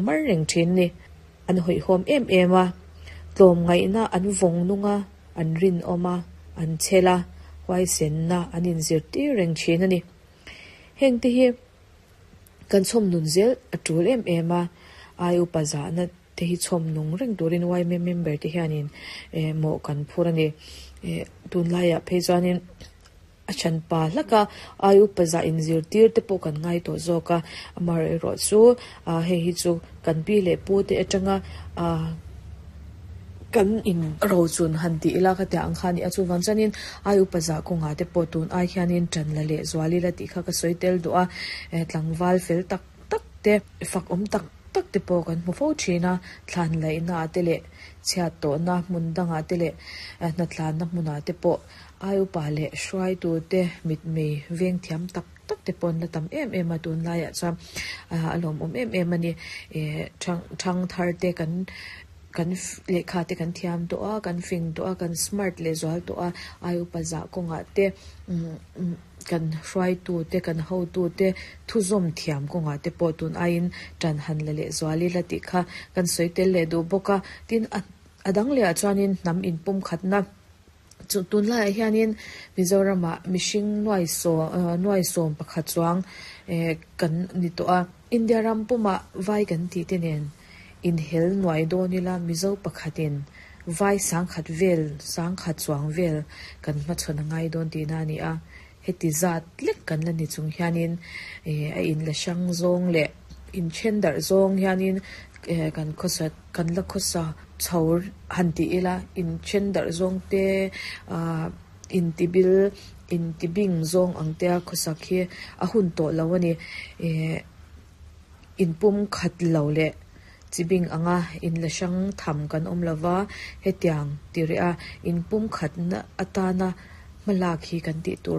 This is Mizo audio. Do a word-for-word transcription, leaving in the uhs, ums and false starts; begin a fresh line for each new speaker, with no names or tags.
mar reng thin a ni. An hawihhawm em em a, tlawmngaihna an vawng nung a, an rinawm a, an chhel a, huaisenna an inzirtir reng thin a ni. Heng te hi kan chhawm nun zel a tul em em a, ai upa zahna te hi chhawm nung reng turin Y M A member te hianin eh mawh kan phur a ni. Eh tunlaiah phei chuanin a then pa hlak a, ai upa zah inzirtir te pawh kan ngai tawh zawk a, amaherawh chu ah hei hi chu kan pi leh pu te atanga ah kan in rochun han tih ila ka tia ang kha a ni a, chuvang chuanin ai upa zah kawngah te pawh tun ai hianin tan la leh zual ila tih kha ka sawi tel duh a, eh tlangval fel tak tak te fak awm tak tak te pawh kan hmu fo thin a, thlan laihna ah te leh chhiat tawhna hmun dangah te leh hnatlanna hmunah te pawh ai upa leh hruaitu te mit mei veng thiam tak tak te pawh an la tam em em a, tunlaiah chuan a lawmawm em em a ni. Eh thang thang thar te kan kan lehkha te kan thiam tawh a, kan fing tawh a, kan smart leh zual tawh a, ai upa zah kawngah te kan hruaitu te kan hotu te thuzawm thiam kawngah te pawh tun aiin tan han la leh zual ila tih kha kan sawi tel leh duh bawk a. Tin a dang lehah chuanin hnam inpum khatna chu tunlaiah hianin Mizoramah mihring nuai sawm nuai sawm pakhat chuang eh kan ni tawh a, India ram pumah vai kan tih te nen inhel nuai dawn ila Mizo pakhatin vai sangkhat vel sangkhat chuang vel kan hmachhawn a ngai dawn tihna a ni a, heti zat lek kan la ni chung hianin eh a in la hrang zawng leh in then darh zawng hianin eh kan khawsa kan la khawsa chho han tih ila in then darh zawng te ah intibil intibing zawng ang te a khawsak hi a hun tawh lo a ni. Eh inpum khat lo leh chibing anga in la hrang tham kan awm lova, hetiang ti reh a inpum khatna atana hmalak hi kan tih tur